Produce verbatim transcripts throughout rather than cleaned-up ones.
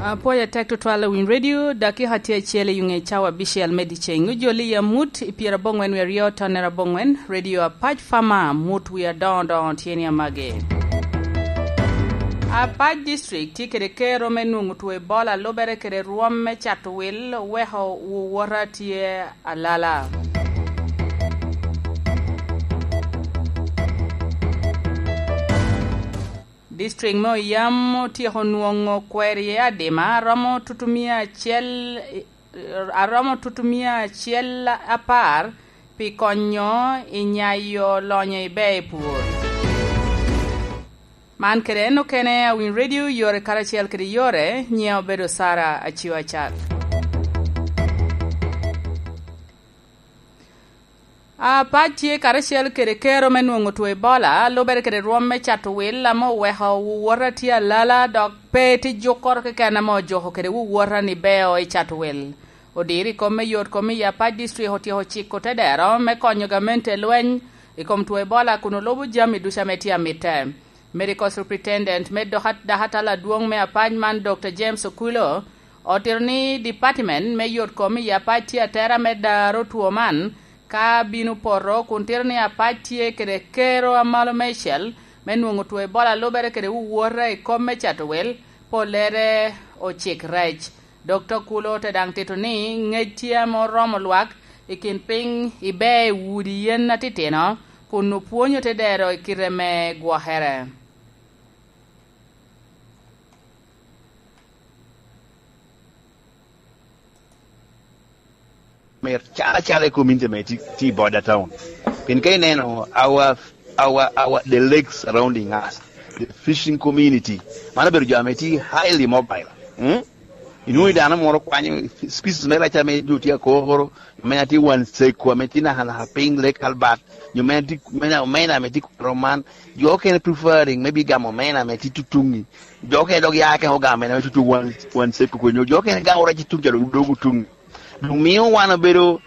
Apwoyo atek tutwal i Winy Radio, dakika tye acel i ŋe cawa abicel me dyeceng. Ojoli i amut i pyeraboŋwen wie aryo tonnere aboŋwen, Radio Apac Fama, mut wie adoŋo doŋo tye ni amage. Apac District tye kede kero me nwoŋo two Ebola lubere kede rwom me cato wil, oweko wowota tye alala. District me Oyam otyeko nwoŋo kwero iye adima aromo tutumia acel, aromo tutumia acel apar pi konyo i nyayo lonyo i ber i pur. Man kede en okene a Winy Radio yore karacel kede yore, nyiŋa obedo Sara Acio Acat. Apac tye karacel kede kero me nwoŋo two Ebola, lubere kede rwom me cato wil ame oweko wowota tye alala, dok pe tye jukkoro keken ame ojuko kede wowota ni beo i cato wil. Odiro i kom me yot kom i Apac District otyeko ciko tedero me konyo gamente lweny i kom two Ebola kun olubo jami ducu ame tye amitte. Medical Superintendent me doka-, dakatal adwoŋ me Apac man, Dokta James Okulo, otito ni department me yot kom i Apac tye atera me daro two man ka bino poto, kun tito ni Apac tye kede kero amalo meicel me nwoŋo two Ebola lubere kede wowota i kom me cato wel, pollere ocik rec. Dokta Okulo te daŋ tito ni ŋec tye ame oromo lwak i kin piny i ber i udi yen atitino, kun opwonyo te dero i kite me gwokere. Mer calo acalo i community me ti, ti border town. Pien ka ineno our, our, our, the lakes surrounding us, the fishing community, mano obedo jo ame ti highly mobile. Mm? Inwoŋo dano moro kwanyo species me rec ame jo tye akoro, ame atye wan seko, ame tye nakanaka piny Lake Albert, nyo ame tye, ame, ame, ame tye kuro man, jo okene preferring me bigamo omena ame tye tutuŋi. Jo okene dok ya kene ogamo omena me tutu wan, wan seko kwe, nyo jo okene gamo rec tutuŋ ca dok dogo tuŋi. Dok mio wan obedo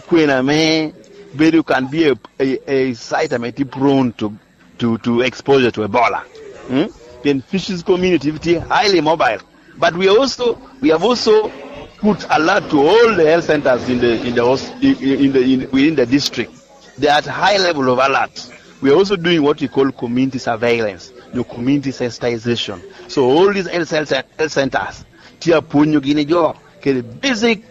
kwena ame bedo can be a, a, a site ame tye prone to, to, to exposure to Ebola. Hmm? Then fishes community tye highly mobile. But we are also, we have also put alert to all the health centers in the, in the, hos- in the, in, within the district. They are at high level of alert. We are also doing what we call community surveillance, the community sensitization. So all these health, health, health centers, tye apwonyogi ni jo kede basic.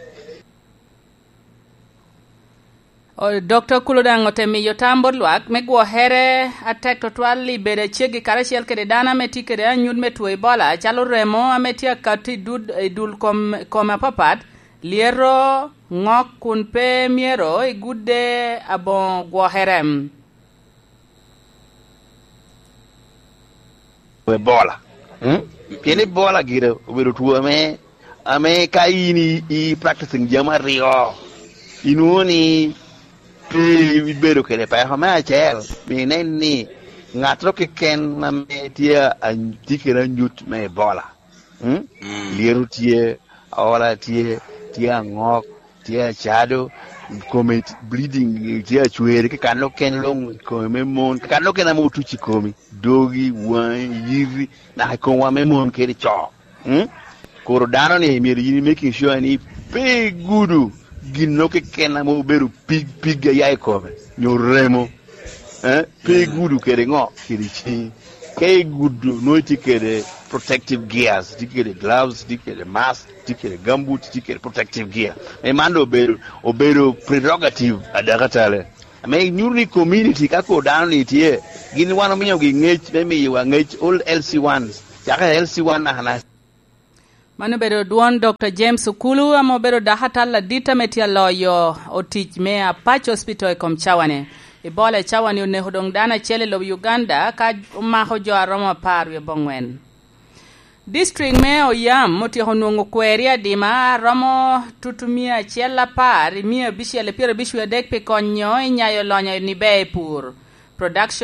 Dokta Okulo daŋ ote miyo tam bot lwak me gwokere atek tutwal i bedo aceggi karacel kede dano ame tye kede anyut me two Ebola, calo remo ame tye akato i dul kom apapat, lyeto, ŋok, kun pe myero igudde aboŋo gwokere. Ebola. Mm? Pien Ebola gire obedo two ame, ame ka in i, i practicing jami aryo, inwoŋo ni pe ibedo kede peko. Me acel, mi inen ni ŋattoro keken ame tye a, tye kede anyut me Ebola. Mm? Mm. Lyeto tye, aola tye, tye aŋok, tye acado, kome t- bleeding, tye acwere, kekano ken luŋ i kome me mon, kekano ken ame otuc i komi, dogi, waŋi, yiti, naka i komwa me mon kede co. Mm? Koro dano ni myero yin making sure ni pe igudo gin no keken ame obedo pig pig aya i kome, nyo remo. Eh, pe igudo kede ŋo? Kede ciŋi. Ka igudo, nwoŋo itye kede protective gears, itye kede gloves, itye kede mask, itye kede gumboot, itye kede protective gear. Me man doŋ obedo, obedo prerogative a dakatale. Ame nyuto ni community ka kor dano ni tye, gin wan omiyogi ŋec me miyowa ŋec, all L C ones, caka L C one naka naka. Man obedo dwon Dokta James Okulu, ame obedo dakatal adit ame tye aloyo otic me Apac Hospital i kom cawani. Ebola i cawani oneko doŋ dano acel i lobo Uganda, ka omako jo aromo apar wie abongwen. District me Oyam otyeko nwoŋo kweri adima aromo tutu mia acel apar i mia abicel i pyerabic wie adek pi konyo i nyayo lonyo ni ber i pur. Production